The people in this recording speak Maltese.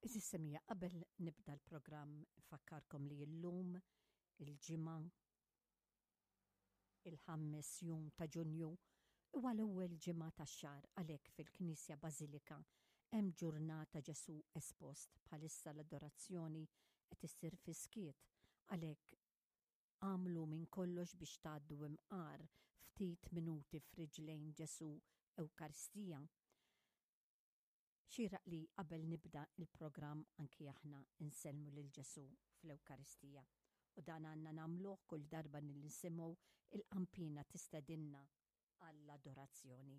Għeżież semmiegħa, qabel nibda l-programm nfakkarkom li llum il-Ġimgħa il-ħammes jum ta' Ġunju huwa l-ewwel ġimgħa tax-xahar għalhekk fil-Knisja Bażilika hemm ġurnata Ġesù espost bħalissa l-adorazzjoni qed issir fis-skiet għalhekk agħmlu minn kollox biex tgħaddu imqar ftit minuti f'riġlejn Ġesù Ewkaristija. Xieraq li qabel nibda il-programm anki aħna nsellmu lil Ġesù fl-Ewkaristija. U dan għandna nagħmluh kull darba li nisimgħu il-qanpiena tistedinna għall-adorazzjoni.